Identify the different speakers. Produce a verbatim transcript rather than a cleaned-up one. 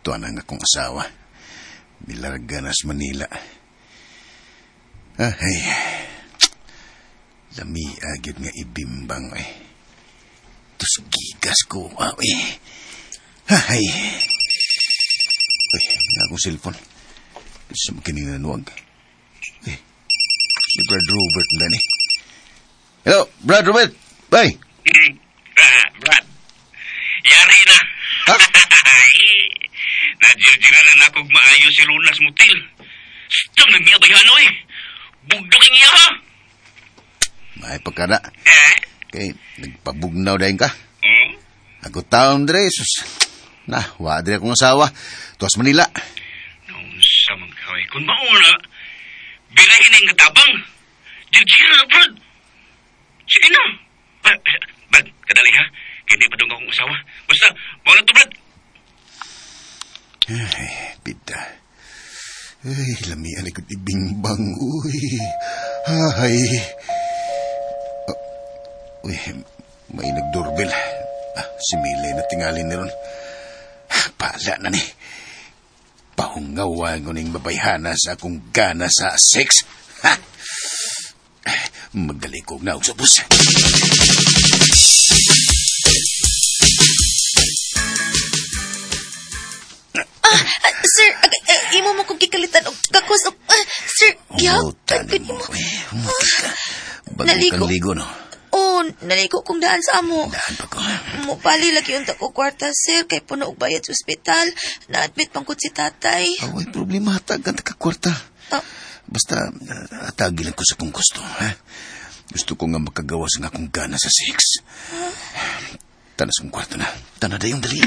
Speaker 1: Ito ang akong asawa. Nilarga na sa Manila. Ah, ay. Lami agad nga ibimbang eh. Tus gigas ko, ah, eh. Ay. Uy, nga akong cellphone. Sa makininanuag. Eh, si Brad Robert na ni. Hello, Brad Robert. Bye.
Speaker 2: Ah, Brad. Yari na.
Speaker 1: Ha?
Speaker 2: Najirjiran na nakog maayo si Lunas Mutil. Stang nagmiya bayano eh. Bugdok ang iya ha.
Speaker 1: May pagkada.
Speaker 2: Eh?
Speaker 1: Kay, nagpabugnaw dahin ka.
Speaker 2: Hmm?
Speaker 1: Ako taon dre, sus. Na, wa dre akong asawa. Tuwas Manila.
Speaker 2: Naunsa man ka eh. Kung mauna, birahin ang katabang. Jirjiran na, Brad. Sige na. Ah, Brad, kadali ha. Hindi pa doon akong asawa. Basta, mauna to, Brad.
Speaker 1: Ay, bida. Ay, lamian ikot ibingbang. Uy, ay. Oh, uy, may nagdoorbell. Ah, si Milay na tingali ni ron. Pala na ni. Pahungawa ko ning babayhana sa akong gana sa sex. Ha! Magalikog na og subos.
Speaker 3: Ah, sir, ag, ah, imo mo kong gikalitan og gakos og ah, sir,
Speaker 1: Umutan
Speaker 3: gihagtan
Speaker 1: mo.
Speaker 3: mo.
Speaker 1: Eh, umutan ka. Bago
Speaker 3: Naligo.
Speaker 1: kang ligo, no?
Speaker 3: Oh, naligo kong daan sa amo.
Speaker 1: Daan pa ko.
Speaker 3: Mupali lagi unta ko kwarta, sir, kay puno og bayad sa ospital. Na-admit pangkot si tatay.
Speaker 1: Away, problema. Hatagan ta ka kwarta.
Speaker 3: Ah,
Speaker 1: Basta, uh, atagi lang ko sa kong gusto. Ha? Gusto ko nga makagawas nga akong gana sa sex. Tanas kong kwarto na. Tana dayong dali.